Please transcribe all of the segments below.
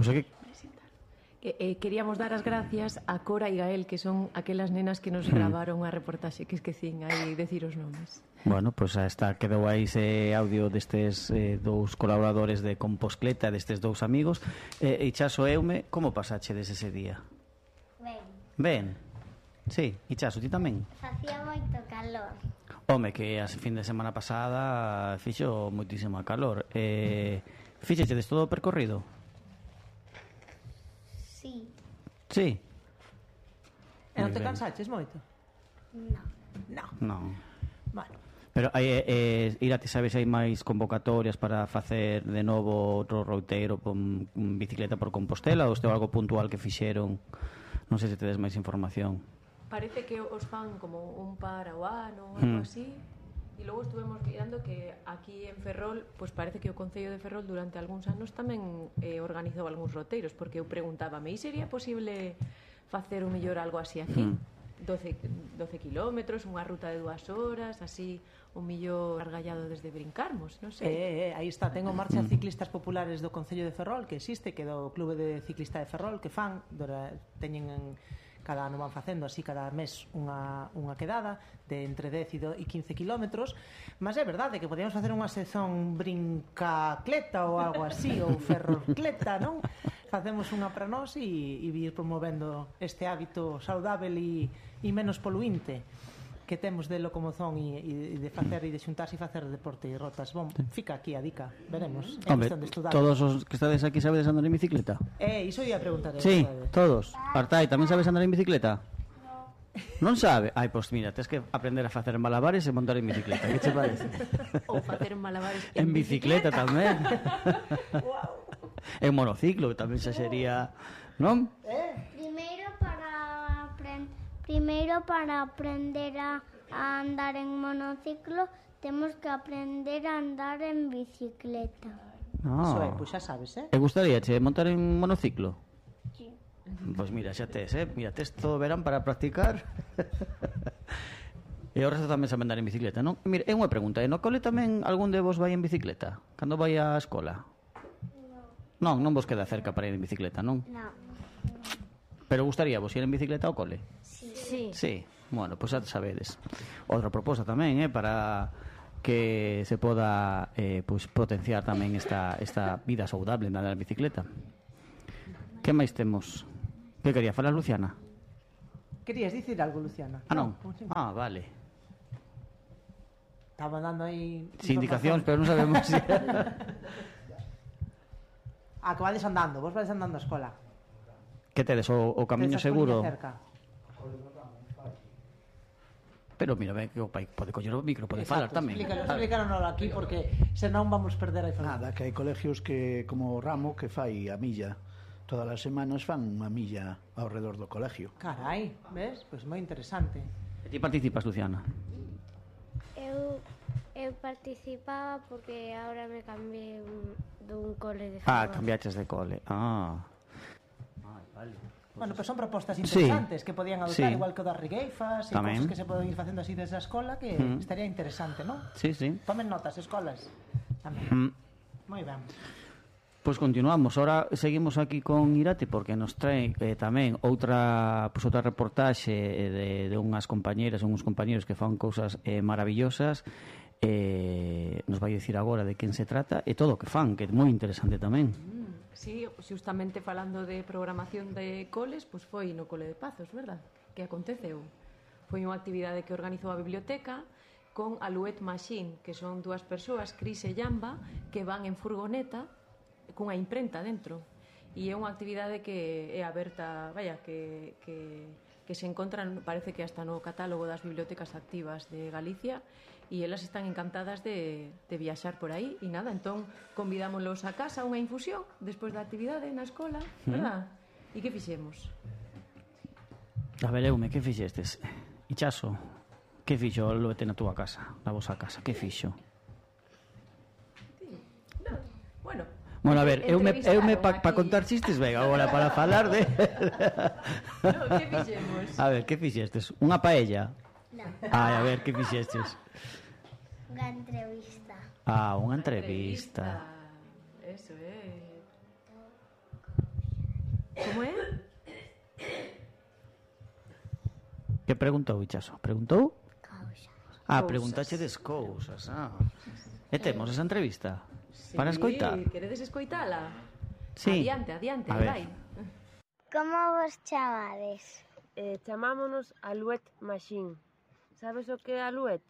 Pois é que queríamos dar as gracias a Cora e Gael, que son aquelas nenas que nos gravaron a reportaxe, que esquecín aí decir os nomes. Bueno, pois quedou aí ese audio destes dous colaboradores de Composcleta, destes dous amigos. Ichaso, Eume, como pasachedes ese día? Ben? Sí, Ichaso, ti tamén? Facía moito calor. Home, que a fin de semana pasada fixo moitísimo calor. Fixechedes todo o percorrido? Sí. Sí. E non te cansaches moito? Non. Bueno. Pero Irati, sabes, hai máis convocatorias para facer de novo outro routeiro con bicicleta por Compostela, ou este é algo puntual que fixeron? Non sei se tedes máis información. Parece que os fan como un par ao ano ou algo así. E logo estuvemos mirando que aquí en Ferrol, pois parece que o Concello de Ferrol durante algúns anos tamén organizou algúns roteiros, porque eu preguntábame, e sería posible facer o mellor algo así aquí? 12 kilómetros, unha ruta de 2 horas, así o millor argallado desde Brincarmos, non sei. Aí está, tengo marcha ciclistas populares do Concello de Ferrol, que existe, que do Clube de Ciclista de Ferrol, que fan, teñen cada ano van facendo así cada mes unha quedada de entre 10 e 15 kilómetros, mas é verdade que podíamos facer unha sezón brincacleta ou algo así, ou ferrocleta, non? Facemos unha para nós e vir promovendo este hábito saudável e menos poluinte que temos de locomoción e de facer e de xuntarse e facer deporte e rotas. Bom, fica aquí a dica, veremos. Hombre, todos os que estades aquí sabedes andar en bicicleta? Iso ia preguntar. Sí, todos. Artai, tamén sabes andar en bicicleta? Non sabe? Ai, pois mira, tens que aprender a facer malabares e montar en bicicleta. Que che parece? Ou facer malabares en bicicleta tamén. En monociclo, que tamén xa sería, non? Primeiro para aprender a andar en monociclo temos que aprender a andar en bicicleta. Iso é, pois xa sabes, E gustaríache montar en monociclo? Sí. Pois mira, xa tes, mira, tes todo o verán para practicar. E o resto tamén sabe andar en bicicleta, non? Mira, é unha pregunta, no cole tamén algún de vos vai en bicicleta? Cando vai á escola? Non vos queda cerca para ir en bicicleta, non? Non. Pero gustaría vos ir en bicicleta ao cole? Sí. Sí, bueno, pois xa sabedes. Outra proposta tamén, para que se poda pois potenciar tamén esta vida saudable na bicicleta. Que máis temos? Que quería falar Luciana? Querías dicir algo, Luciana? Non? Vale. Estaba dando aí indicacións, pero non sabemos si... que vades andando, vos vades andando á escola. Que tedes, o camiño seguro? Pero mira, que o pai pode coller o micro, pode falar tamén. Explícanos aquí, porque senón vamos perder a información. Nada, que hai colegios que, como o Ramo, que fai a milla. Todas as semanas fan unha milla ao redor do colegio. Carai, ves? Pois moi interesante. E ti participas, Luciana? Eu participaba porque agora me cambiei dun cole de Ferrol. Cambiaches de cole. Vale. Bueno, pois son propostas interesantes que podían adoptar, igual que o das rigueifas e cosas que se poden ir facendo así desde a escola, que estaría interesante, non? Sí. Tomen notas, escolas. Tamén. Moi ben. Pois continuamos, ahora seguimos aquí con Irati porque nos trae tamén outra reportaxe de unhas compañeras e uns compañeros que fan cousas maravillosas. Nos vai dicir agora de quen se trata e todo o que fan, que é moi interesante tamén. Sí, justamente falando de programación de coles, pois foi no Cole de Pazos, verdad? Que aconteceu. Foi unha actividade que organizou a biblioteca con Alouette Machine, que son dúas persoas, Cris e Jamba, que van en furgoneta cunha imprenta dentro. E é unha actividade que é aberta, que se encontran, parece que hasta no catálogo das bibliotecas activas de Galicia, e elas están encantadas de viaxar por aí. E nada, entón convidámoslos a casa a unha infusión despois da actividade na escola, verdad? E que fixemos? A ver, Eume, que fixestes? Ichaso, que fixo o Loete na túa casa, na vosa casa? Que fixo? Bueno, a ver, eume para contar chistes, venga, agora para falar de... Que fixemos? A ver, que fixestes? Unha paella? Non. A ver, que fixestes? Unha entrevista. Unha entrevista. Eso é. Como é? Que preguntou, Ichaso? Preguntou? Causa. Preguntache des cousas. E temos esa entrevista para escoitar. Queredes escoitala? Sí. Adiante, A ver. vai. Como vos chamades? Chamámonos Alouette Machine. Sabes o que é Alouette?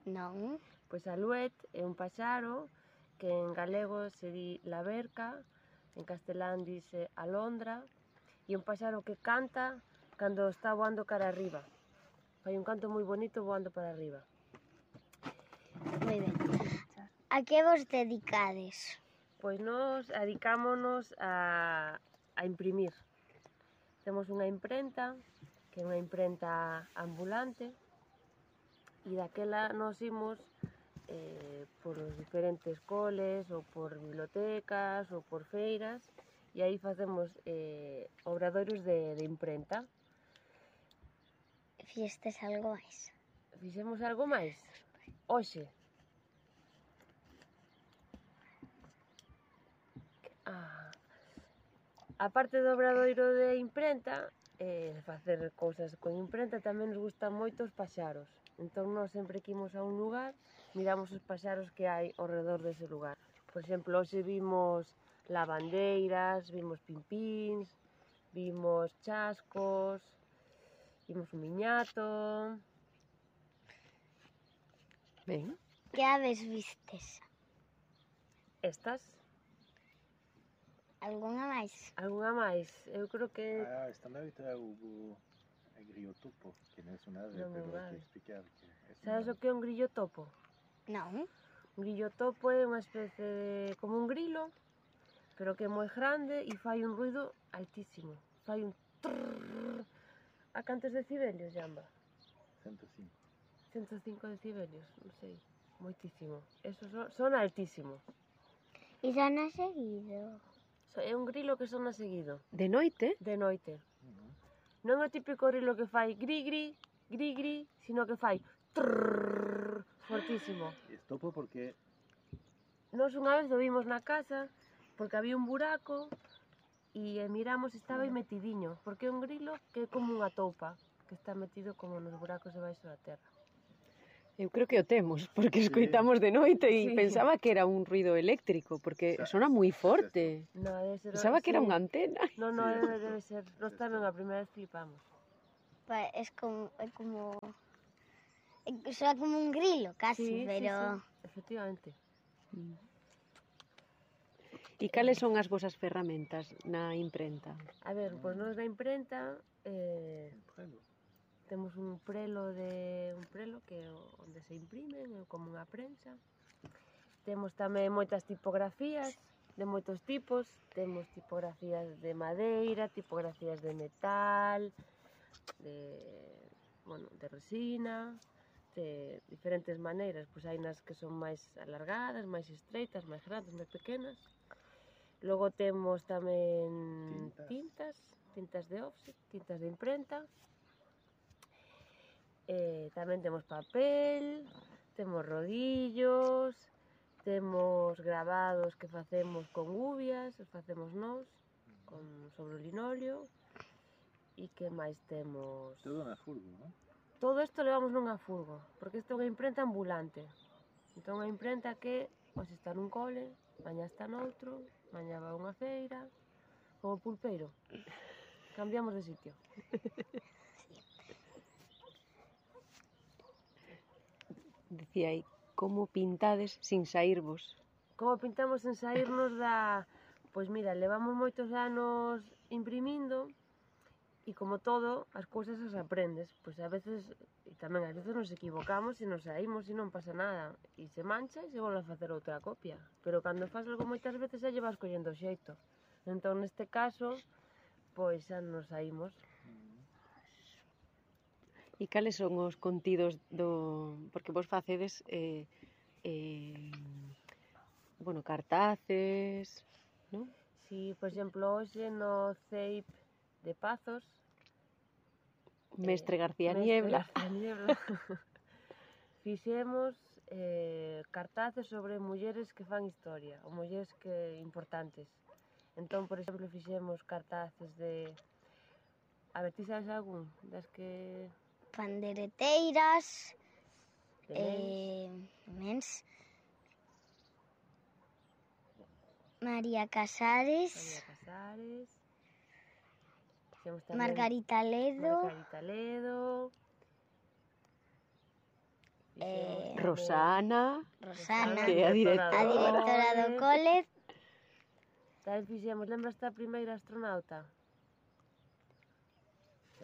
Non. Pois Alouette é un paxaro que en galego se di laverca, en castelán dice alondra, e un paxaro que canta cando está voando cara arriba. Fai un canto moi bonito voando para arriba. Moi ben. A que vos dedicades? Pois nós adicámonos a imprimir. Temos unha imprenta, que é unha imprenta ambulante, e daquela nos imos por os diferentes coles, ou por bibliotecas, ou por feiras, e aí facemos obradoiros de imprenta. Fixestes algo máis? Fixemos algo máis? Hoxe. A parte do obradoiro de imprenta, facer cousas con imprenta, tamén nos gustan moito os paxaros. Entón, nós sempre que imos a un lugar, miramos os paxaros que hai ao redor dese lugar. Por exemplo, hoxe vimos lavandeiras, vimos pimpíns, vimos chascos, vimos un miñato. Ben. Que aves vistes? Estas? Algunha máis? Algunha máis? Eu creo que... esta noite é o grillo topo, que non é un ave, Non é pero un hai ave. que explicar que é Sabes o que é un grillo topo? Non. Un grillo topo é unha especie de... como un grilo, pero que é moi grande e fai un ruido altísimo. Fai un trrrr. A cantos decibelios, Jamba? 105. 105 decibelios, non sei, moitísimo. Eso sona altísimo. E sona seguido. É un grilo que sona seguido, De noite? de noite. Non é o típico grilo que fai gri, sino que fai trrrr, fortísimo. E topo porque Nós unha vez o vimos na casa, porque había un buraco, e miramos e estaba aí metidiño, porque é un grilo que é como unha toupa, que está metido como nos buracos debaixo da terra. Eu creo que o temos, porque escoitamos de noite e Sí. pensaba que era un ruido eléctrico, porque sona moi forte. No, debe ser... Pensaba que era sí. unha antena. No, debe ser. Nós tamén a primeira vez flipamos. É como... Soa como un grilo, casi, pero... Sí, efectivamente. E cales son as vosas ferramentas na imprenta? A ver, pois nós da imprenta temos un prelo que é onde se imprimen, é como unha prensa. Temos tamén moitas tipografías de moitos tipos, temos tipografías de madeira, tipografías de metal, de resina, de diferentes maneiras, pois hai nas que son máis alargadas, máis estreitas, máis grandes, máis pequenas. Logo temos tamén tintas de offset, tintas de imprenta. Tamén temos papel, temos rodillos, temos gravados que facemos con gubias, os facemos nós, sobre o linóleo. E que máis temos? todo na furgo, non? Todo isto levamos nunha furgo, porque isto é unha imprenta ambulante. Entón, unha imprenta que hoxe está nun cole, mañá está noutro, mañá va a unha feira, como pulpeiro. Cambiamos de sitio. Dicía aí, como pintades sin saírvos? Como pintamos en saírnos da... Pois mira, levamos moitos anos imprimindo e como todo, as cousas as aprendes. Pois a veces, e tamén a veces nos equivocamos e nos saímos e non pasa nada. E se mancha e se volve a facer outra copia. Pero cando faz algo moitas veces xa lle vas collendo xeito. Entón, neste caso, pois xa nos saímos. E cales son os contidos do... Porque vos facedes, cartaces, non? Si, por exemplo, hoxe no CEIP de Pazos, Mestre García Niebla. Fixemos cartaces sobre mulleres que fan historia, ou mulleres que importantes. Entón, por exemplo, fixemos cartaces de... A ver, ti sabes algún das que... Pandereteiras, de mens, María Casares, fixemos tamén Margarita Ledo, Margarita Ledo, fixemos Rosana, Rosana, que é a directora do cole, tamén fixemos, lembras a primeira astronauta?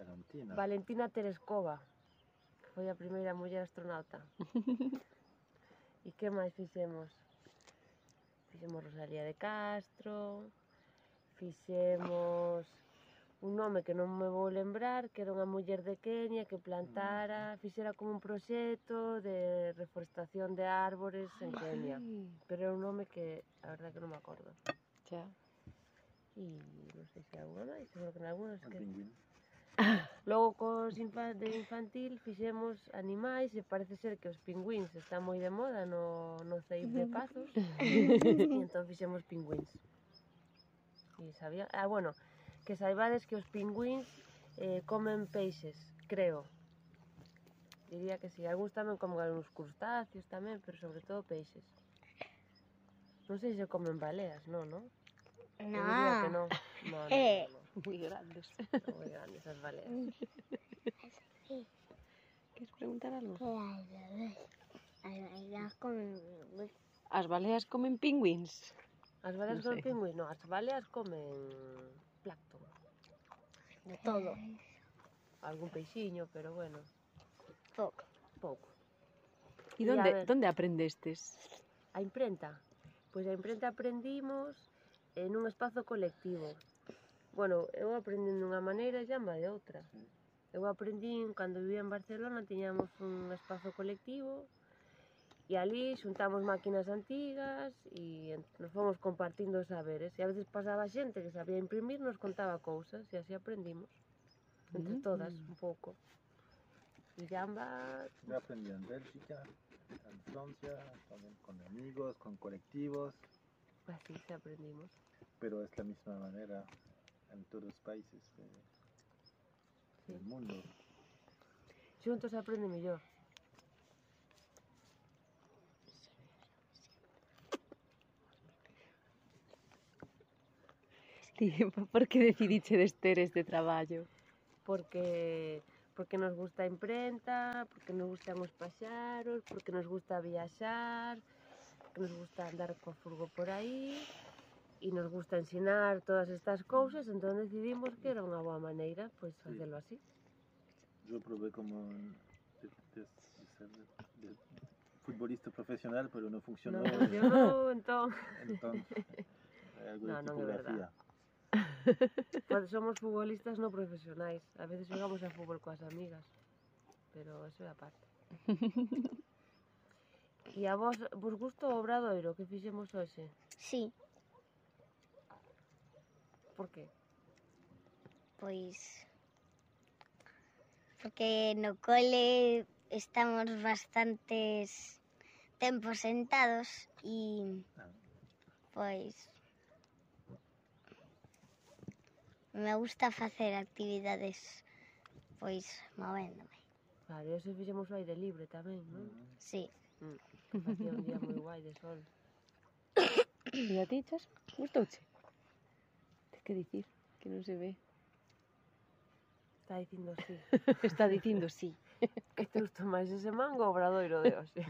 Valentina. Valentina Tereskova, que foi a primeira muller astronauta. E que máis fixemos? Fixemos Rosalía de Castro, fixemos un nome que non me vou lembrar, que era unha muller de Kenia que plantara, fixera como un proxecto de reforestación de árbores en Kenia. Pero era un nome que, a verdade, que non me acordo. xa. E non sei se alguna máis, seguro que en algunas Un que... pingüín. Logo de infantil fixemos animais e parece ser que os pingüíns están moi de moda no CEIP de Pazos e entón fixemos pingüíns. E sabía... bueno, que saibades que os pingüíns comen peixes, creo. Diría que si, algúns tamén comen algúns crustáceos tamén, pero sobre todo peixes. Non sei se comen baleas, non? Eu diría que non. No. Moi grandes. Son moi grandes as baleas. Queres preguntar algo? As As baleas comen pingüíns? As baleas Non comen sei. pingüíns? Non, as baleas comen plancton. de todo, Algún peixiño, pero bueno, pouco. pouco. E E a ver. donde aprendestes? A imprenta? Pois a imprenta aprendimos nun espazo colectivo. Bueno, eu aprendi dunha maneira e Jamba de outra. Eu aprendín, cando vivía en Barcelona, tiñamos un espazo colectivo e ali xuntamos máquinas antigas e nos fomos compartindo os saberes. E a veces pasaba xente que sabía imprimir, nos contaba cousas e así aprendimos. Entre todas, un pouco. E Jamba... Yo aprendí en Bélgica, en Francia, también con amigos, con colectivos, Así se aprendimos. pero es la misma manera en todos los países del mundo. Xuntos se aprende mellor. Por que decidiches ter este traballo? Porque nos gusta a imprenta, porque nos gustan os paxaros, porque nos gusta viaxar, porque nos gusta andar co furgo por aí e nos gusta ensinar todas estas cousas, entón decidimos que era unha boa maneira pois facelo así. Yo probé como de ser de futbolista profesional, pero no funcionó. Non funcionou, entón Entonces, algo de No, non é tipografía. Pues somos futbolistas no profesionais. A veces xogamos a fútbol coas amigas, pero eso é aparte. E a vos gusta o obradoiro que fixemos hoxe? Sí, Por que? pois porque no cole estamos bastantes tempos sentados e pois me gusta facer actividades pois movéndome. Claro, e hoxe fixemos o aire libre tamén, non? Sí, Que facía un día moi guai de sol. E a ti, Chas? Gustouche? Tes que dicir, que non se ve. Está dicindo sí. Está dicindo sí. Que te gustou máis ese mango ou o obradoiro de hoxe?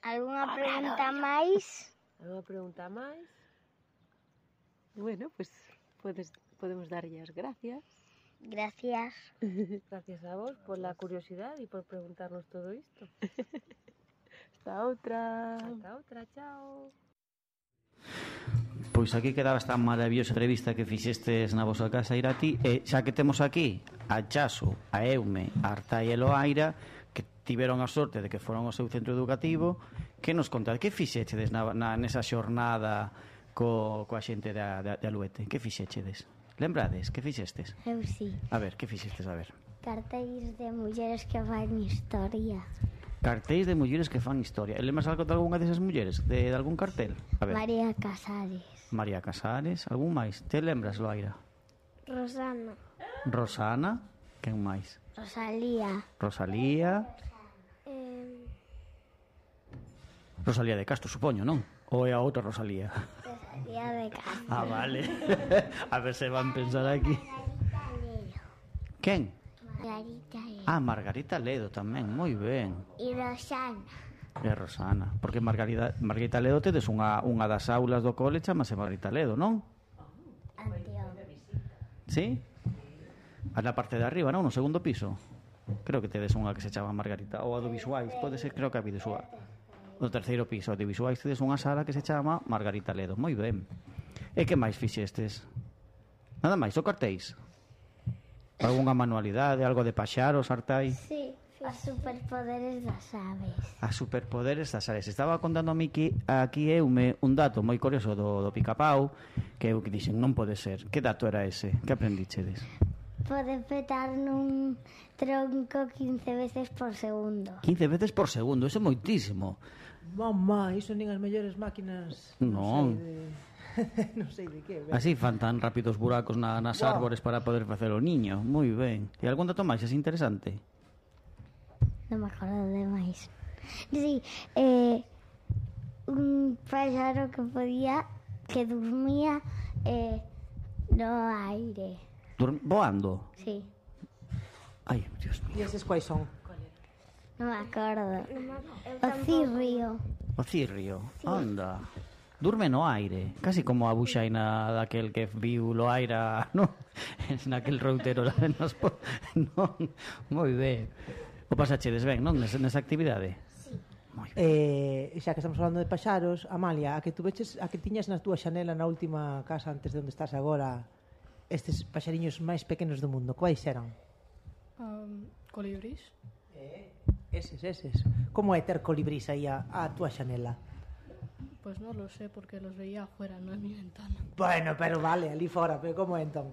algunha pregunta máis? Alguna pregunta máis? Bueno, pues podemos darlle as gracias. Gracias. Gracias a vos por la curiosidade e por preguntarnos todo isto. Hasta outra. Hasta outra, chao. Pois aquí quedaba esta maravillosa entrevista que fixestes na vosa casa, Irati, e xa que temos aquí a Chaso, a Eume, a Artai e Loaira, que tiveron a sorte de que foron ao seu centro educativo, que nos contade, que fixechedes nesa xornada coa xente de Aluete? Que fixechedes? Lembrades? Que fixestes? Eu sí. A ver, que fixestes? A ver. Cartéis de mulleres que fan historia. Cartéis de mulleres que fan historia. E lembras algo de algunha desas mulleres? De algún cartel? A ver. María Casares. María Casares, algún máis? Te lembras, Loaira? Rosana. Rosana, quen máis? Rosalía. Rosalía. Rosalía de Castro, supoño, non? Ou é a outra Rosalía? Rosalía de Castro. Ah, vale. A ver se van pensar aquí. Quen? Margarita Ledo. Ah, Margarita Ledo tamén, moi ben. E Rosana. E Rosana, porque Margarita Ledo tedes unha das aulas do cole chamase Margarita Ledo, non? Sí? A na parte de arriba, non? No segundo piso. Creo que tedes unha que se chama Margarita. Ou a do visuais, pode ser, creo que a visual. No terceiro piso, a do visuais tedes unha sala que se chama Margarita Ledo. Moi ben. E que máis fixestes? Nada máis, o cartéis? Algunha manualidade, algo de paxaros, hartai? Sí, os superpoderes das aves. A superpoderes das aves. Estaba contando a mí que aquí eume un dato moi curioso do Picapau, que eu que dixen, non pode ser. Que dato era ese? Que aprendichedes? Pode petar nun tronco 15 veces por segundo. 15 veces por segundo, eso é moitísimo. Mamá, iso nin as mellores máquinas. Non. Non sei de que. Así fan tan rápidos buracos nas árbores para poder facer o niño. Moi ben. E algún dato máis é interesante? Non me acordo de máis. Sí, un páxaro que dormía no aire. Voando? Sí. Ai, Dios mío. E eses quais son? Non me acordo. O cirrio. O cirrio, anda. Durme no aire, casi como a buxaina daquel que viu Loaira, non? Naquel routero lá nos... Non, moi ben. O pasachedes ben, non? Nesa actividade? Sí. Xa que estamos falando de paxaros, Amalia, a que tiñas na túa xanela na última casa antes de onde estás agora, estes paxariños máis pequenos do mundo, quais eran? Colibris. Eses. Como é ter colibrís aí a túa xanela? Pues no lo sé, porque los veía afuera, no en mi ventana. Bueno, pero vale, ali fora, pero como é entón?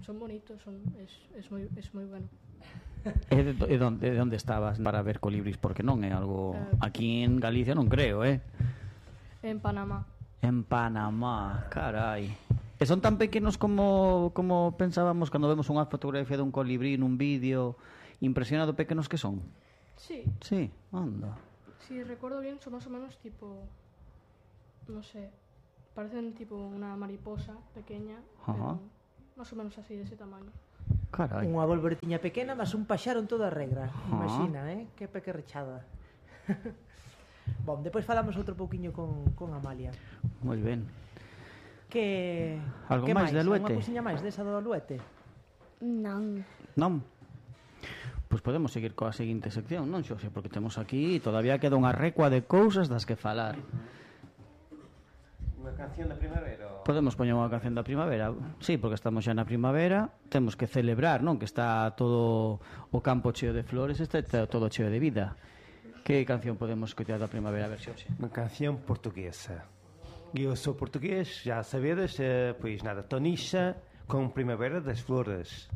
Son bonitos, es muy bueno. E de onde estabas para ver colibris? Porque non é algo... Aquí en Galicia non creo, En Panamá. En Panamá, carai. E son tan pequenos como pensábamos cando vemos unha fotografía dun colibrí nun vídeo, impresionado pequenos que son? Sí. Sí, anda. Si recuerdo bien, son más o menos tipo... No sé, parecen tipo una mariposa pequeña, pero más o menos así, de ese tamaño. Carai. Unha volveretiña pequena, mas un paxaro en toda regra. Imagina, que pequerrechada. Bom, depois falamos outro pouquiño con Amalia. Moi ben. Algo máis de Aluete? Unha cousiña máis desa do Aluete? Non. Non? Pois podemos seguir coa seguinte sección, non, Xose? Porque temos aquí, todavía queda unha recua de cousas das que falar. Unha canción da primavera? Podemos poñer unha canción da primavera? Sí, porque estamos xa na primavera, temos que celebrar, non? Que está todo o campo cheo de flores, está todo cheo de vida. Que canción podemos escoitar da primavera, a ver, Xose? Unha canción portuguesa. Eu sou portugués, já sabedes, pois nada, Tonixa con Primavera das Flores.